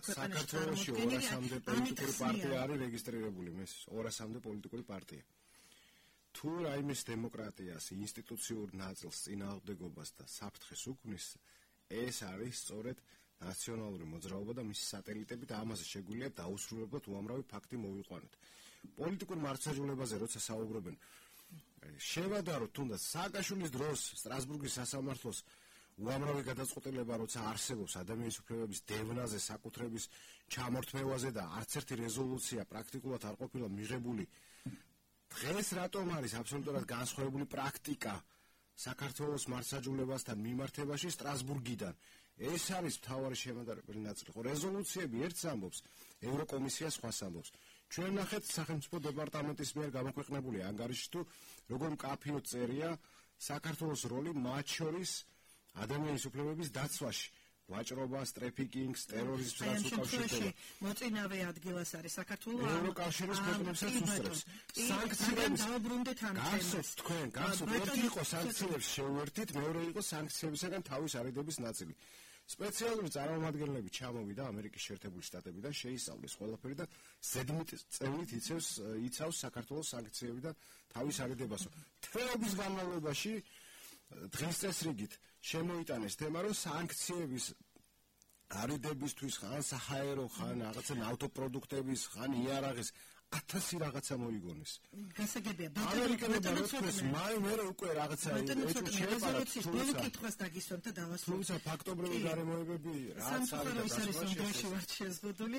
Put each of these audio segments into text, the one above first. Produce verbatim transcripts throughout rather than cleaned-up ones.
ქვეყანაში წარმოქმნილი პოლიტიკური პარტია არის რეგისტრირებული, მის ორასამდე პოლიტიკური პარტია. თუ რაიმეს დემოკრატიას, ინსტიტუციურ ნაწილს, წინააღმდეგობას და საფრთხეს უქმნის, ეს არის სწორედ ნაციონალური მოძრაობა და მისი სატელიტები და ამაზე შეგვიძლია დაუსრულებლად უამრავი ფაქტი მოვიყვანოთ. პოლიტიკურ მართლმსაჯულებაზე როცა საუბრობენ, შევადაროთ თუნდაც სააკაშვილის დროს სტრასბურგის სასამართლოს უამრავი გადაწყვეტილება როცა არსებობს ადამიანის უფლებების დევნაზე, საკუთრების ჩამორთმევაზე და არც ერთი რეზოლუცია პრაქტიკულად არ ყოფილა მიღებული. დღეს რატომ არის აბსოლუტურად განსხვავებული პრაქტიკა საქართველოს მართლმსაჯულებასთან მიმართებაში სტრასბურგიდან? ეს არის მთავარი შემადარებელი ნაწილი. ხო, რეზოლუციები ერთს ამბობს, ევროკომისია სხვას ამბობს. ჩვენ ნახეთ სახელმწიფო დეპარტამენტის მიერ გამოქვეყნებული ანგარიში თუ როგორ მკაფიოდ წერია საქართველოს როლი მათ შორის ადამიანის უფლებების დაცვაში. ვაჭრობას, ტრაფიკინგს, ტერორიზმს რაც უკავშირდება. მოწინავე ადგილას არის საქართველოს ევროკავშირის ქვეყნებსაც უსწრებს. სანქციები დაუბრუნდეთ ამ თემას. გასცოთ თქვენ, გასცოთ. ერთი იყო სანქციებს შევერთით, მეორე იყო სანქციებისგან თავის არიდების ნაწილი. სპეციალური წარმომადგენლები ჩამოვიდა ამერიკის შეერთებული შტატებიდან, შეისწავლეს ყველაფერი და ზედმეტ წევნით იცავს იცავს საქართველოს სანქციებიდან თავის არიდებას. თვეების განმავლობაში დღის წესრიგით შემოიტანეს თემა, რომ სანქციების არიდებისთვის ხან საჰაერო, ხან რაღაცა ნავთობპროდუქტების, ხან იარაღის ათასი რაღაცა მოიგონეს. გასაგებია, ამერიკელებმა როდეს მაი მე უკვე რაღაცა რეზოლუციის ბოლო კითხვას დაგისვამ და დავასრულებ. თუმცა ფაქტობრივი გარემოებები რაც არის დასაშვებაში ვართ შეზღუდული.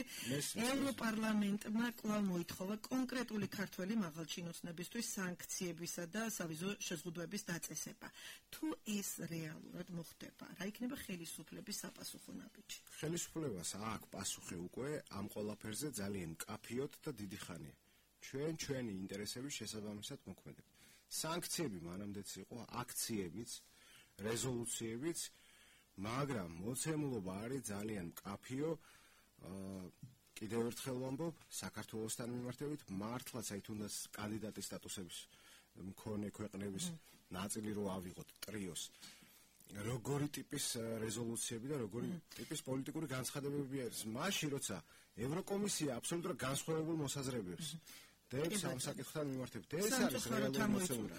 ევროპარლამენტმა კვლავ მოითხოვა კონკრეტული ქართველი მაღალჩინოსნებისთვის სანქციებისა და სავიზო შეზღუდვების დაწესება. თუ ეს რეალურად მოხდება, რა იქნება ხელისუფლების საპასუხო ნაბიჯი? ხელისუფლებას აქვს პასუხი უკვე ამ ყველაფერზე ძალიან მკაფიოდ და დიდი ხანი. ჩვენ ჩვენი ინტერესების შესაბამისად მოქმედებთ. სანქციები მანამდეც იყო, აქციებიც, რეზოლუციებიც, მაგრამ მოცემულობა არის ძალიან მკაფიო. კიდევ ერთხელ ვამბობ, საქართველოსთან მიმართებით მართლაც აი თუნდაც კანდიდატის სტატუსების მქონე ქვეყნების ნაწილი რო ავიღოთ ტრიოს. როგორი ტიპის რეზოლუციები და როგორი ტიპის პოლიტიკური განცხადებები არის. მაშინ როცა ევროკომისია აბსოლუტურად განსხვავებულ მოსაზრებებს დებს ამ საკითხთან მიმართებით. ეს არის რეალური მოსაზრება.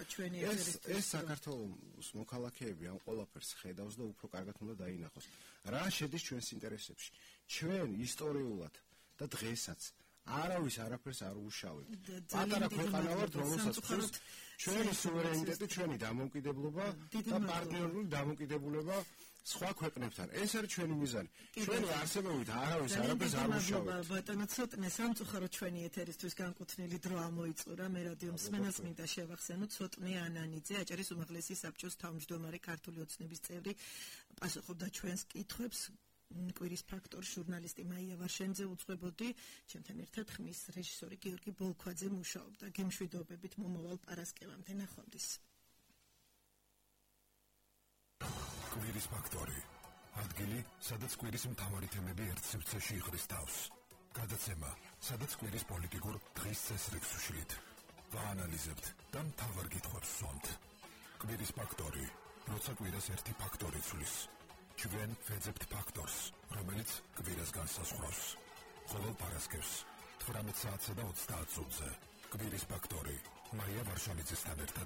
ეს ეს საქართველოს მოქალაქეები ამ ყველაფერს ხედავს და უფრო კარგად უნდა დაინახოს. რა შედის ჩვენს ინტერესებში? ჩვენ ისტორიულად და დღესაც არავის არაფერს არ უშავებთ. პატარა ქვეყანა ვართ, რომელსაც ხსოვს ჩვენი სუვერენიტეტი, ჩვენი დამოუკიდებლობა და პარტნიორული დამოუკიდებლობა სხვა ქვეყნებთან. ეს არის ჩვენი მიზანი. ჩვენი არსებობით არავის არაფერს არ უშავებთ. ბატონო ცოტნე სამწუხაროდ ჩვენი ეთერისთვის განკუთვნილი დრო ამოიწურა. მე რადიო მსმენელს მინდა შევახსენო ცოტნე ანანიძე, აჭარის უმაღლესი საბჭოს თავმჯდომარე, ქართული ოცნების წევრი, პასუხობდა ჩვენს კითხვებს. კვირის ფაქტორი ჟურნალისტი მაია ვარშენძე უძღვებოდი, ჩემთან ერთად ხმის რეჟისორი გიორგი ბოლქვაძე მუშაობდა. გემშვიდობებით მომავალ პარასკევამდე, ნახვამდის. კვირის ფაქტორი. ადგილი, სადაც კვირის მთავარი თემები ერთ სივრცეში იღრის თავს. გადაცემა, სადაც კვირის პოლიტიკურ დღის წესრიგს უშლით. ვაანალიზებთ და მთავარ კითხვებს ვსვამთ. კვირის ფაქტორი. როცა კვირას ერთი ფაქტორი ცვლის. ჩვენ ვეძებთ ფაქტორს, რომელიც კვირას განსაზღვრავს. ყოველ პარასკევს თვრამეტ საათსა და ოცდაათ წუთზე კვირის ფაქტორი მაია ვარშავიძესთან ერთად.